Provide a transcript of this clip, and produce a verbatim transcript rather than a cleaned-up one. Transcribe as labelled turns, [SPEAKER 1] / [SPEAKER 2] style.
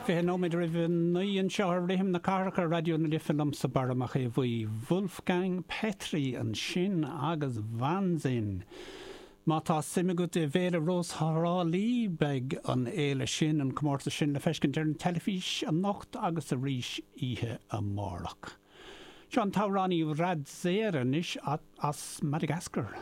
[SPEAKER 1] Fiche nóiméad roimh a naoi anseo ar Rithim na Cathrach ar Raidió na Life liomsa Barra Mac Aodha Bhuí Wolfgang Petry ansin agus Wahnsinn. Má tá suim agat i bhFéile Rós Thrá Lí beidh an fhéile sin an comórtas sin le feiscint ar an teilifís anocht agus arís oíche amárach. Seo an t-amhránaí Radzera anois as Madagascar.